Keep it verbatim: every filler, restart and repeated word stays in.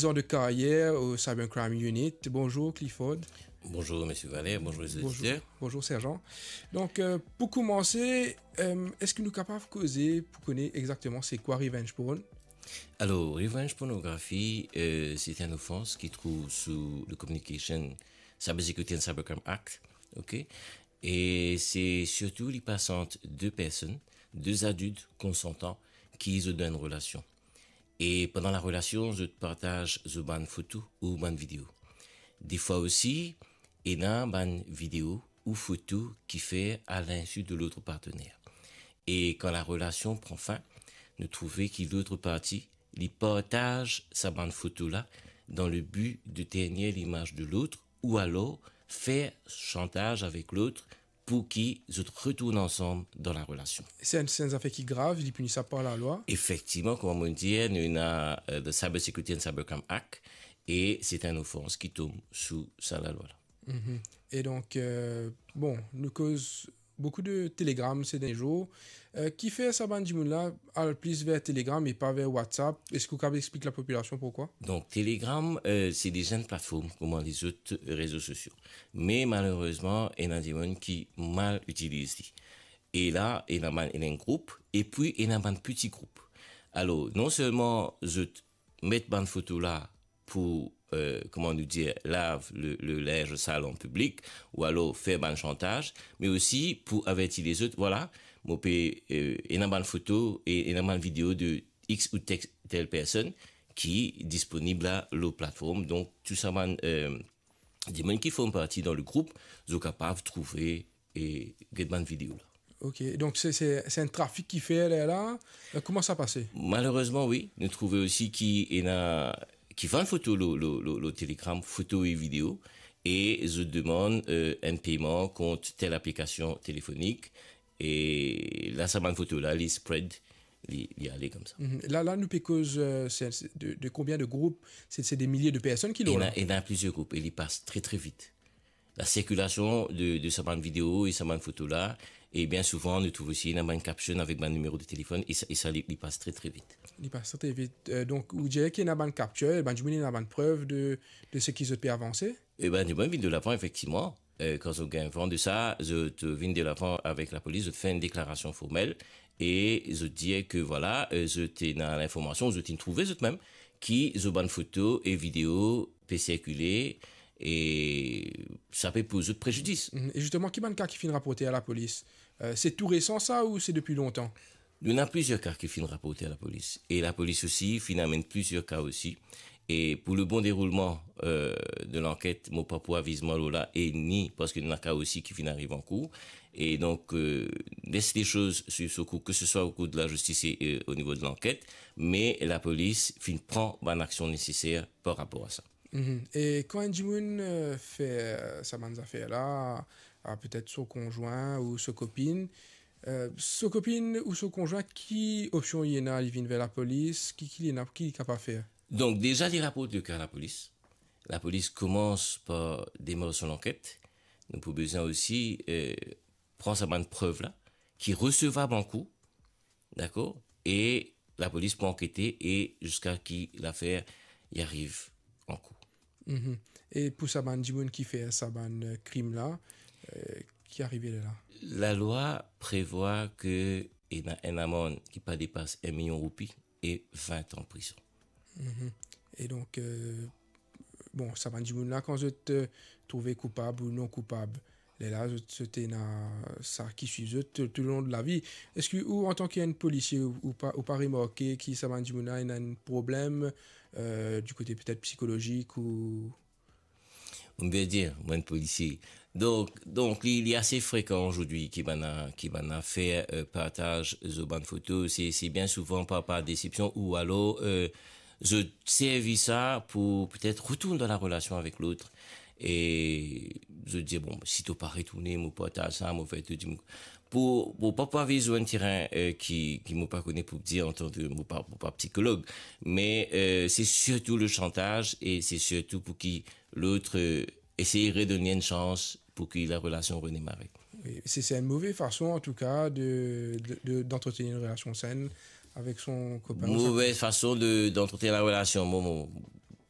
Zan de karyer o Cybercrime Unit. Bonzour Clifford. Bonzour Monsieur Valère, bonzour les Bonzour, auditeurs. Bonzour Serjan. Donk, euh, pou koumanse, euh, eski nou kapav koze pou kone exakteman se kwa revenge porn? Alors, revenge pornographie, euh, c'est une offense qui trouve sous le Communication, Cyber Security and Cybercrime Act, ok? Et c'est surtout les passantes de personnes, deux adultes consentants qui ont une relation. E pandan larelasion, zot partaz zot bann foto ou bann video. Defwa osi, ena bann video ou foto ki fer a linsu de lot partener. E kan larelasion pran fin, nou trouve ki lot parti, li partaz sa bann foto la dan le bi de ternir limaz de lot ou alor fer shantaz avek lot pou ki zot retourn ansam dan larelasion. Se enn, se enn zafer ki grav, li pinisab par lalwa. Efektivman, kouma mo dir, nou ena, euh, the Cyber Security and Cybercrime Act, e se enn ofans ki tom sou sa lalwa la. Mhm. E donk, euh, bon, nou koz boukou de Telegram se dernie zour. Euh, kifer sa bann dimoun la al plis ver Telegram e pa ver WhatsApp? Eski ou kapav explik lapopilasion poukwa? Donk, Telegram, euh, se deza enn platform kouma lezot rezo sosio. Me malerezman, ena dimoun ki mal itiliz li. E la, ena bann, ena enn group, epi ena bann peti group. Alor, non selman zot met bann foto la pou, euh, kouma nou dir, lav le, le linz sal an piblik, ou alor fer bann shantaz, me osi pou averti lezot, vwala, mo pe, euh, ena bann foto e ena bann video de X ou tel, tel personn ki disponib la lor platform. Donk, tou sa bann, euh, dimoun ki form parti dan le group, zot kapav trouve e get bann video la. Ok, donk se, se, se enn trafik ki fer lerla. Euh, kouma sa pase? Malerezman, wi. Nou trouve osi ki ena, ki vann foto lor, lor, lor, lor Telegram, foto e video, e zot demann, euh, enn peyman kont tel aplikasion telefonik, e la, sa bann foto la, li spread, li, li ale koumsa. Mhm. La, la, nou pe koz, euh, se, se de, de konbien de group? Se, se de milie de personn ki lor Ena, la? Ena plizier group, e li pas tre, tre vit. Lasirkilasion de, de sa bann video e sa bann foto la, e bien souvan, nou trouv osi ena bann caption avek bann nimero de telefonn, e sa, e sa li, li pas tre, tre vit. Li pas tre vit. Euh, donk, ou dir ki ena bann capture, bann dimoun ena bann prev de, de seki zot pe avanse? E bann dimoun vinn delavan, efektivman. Euh, kan zot gagn van de sa, zot vinn delavan avek lapolis, zot fer enn deklarasion formel, e zot dir ke, vwala, euh, zot ena linformasion, zot inn trouve zot mem, ki zot bann foto e video pe sirkile, e sa pe poz zot prejidis. Mhm. E zisteman, ki bann ka ki finn raporte a lapolis? Euh, se tou resan sa ou se depi lontan? Nou ena plizier ka ki finn raporte a lapolis. E lapolis osi finn amenn plizier ka osi. E pou le bon deroulman, euh, de lanket, mo pa pou aviz mwa lor la, e ni parski nou ena ka osi ki finn ariv ankour. E donk, euh, les les choses suivre son cours, que ce soit au cours de la justice et, euh, au niveau de l'enquête, me lapolis finn pran bann aksion neseser par rapor a sa. Mhm. E kan enn dimoun, euh, fer, euh, sa bann zafer la, a petet so konzwin ou so kopinn, euh, so kopinn ou so konzwin, ki opsion li ena? Li vinn ver lapolis, ki, ki li ena, ki li kapav fer? Donk, deza, li raport le ka lapolis. Lapolis koumans par demar so lanket. Nou pou bizin osi, euh, pran sa bann prev la, ki resevab ankour, dakor? E lapolis pou ankete e ziska ki lafer li ariv ankour. Mhm. E pou sa bann dimoun ki fer sa bann, euh, krim la, euh, ki arive lerla? Lalwa prevwa ke ena enn amann ki pa depas enn milion roupi e vin an prizon. Mhm. E donk, euh, bon, sa bann dimoun la, kan zot, euh, trouve koupab ou non koupab, lerla zot, zot ena sa ki swiv zot tou, toulong de lavi. Eski ou, antan ki enn polisie, ou, ou pa, ou pa remarke ki sa bann dimoun la ena enn problem, euh, di kote petet psikolozik ou? Ou pe dir, mwa enn polisie. Donk, donk li, li ase frekan azordi ki bann, ki bann fer, euh, partaz zot bann foto. Se, se bien souvan par, par desepsion ou alor, euh, zot servi sa pou petet retourn dan larelasion avek lot. E zot dir, bon, si to pa retourne, mo partaz sa, mo fer tou dimoun. Pou, pou pa, pa viv lor enn terin, euh, ki, ki mo pa kone pou dir antan ke mo pa, mo pa psikolog, me, euh, se sirtou le shantaz e se sirtou pou ki lot, euh, esey redonn li enn sans pou ki larelasion redemare. Wi, se, se enn move fason, an tou ka, de, de, de, d'entretenir enn relasion senn avek son kopin ou sa... Move fason de, d'entretenir larelasion. Mo, mo,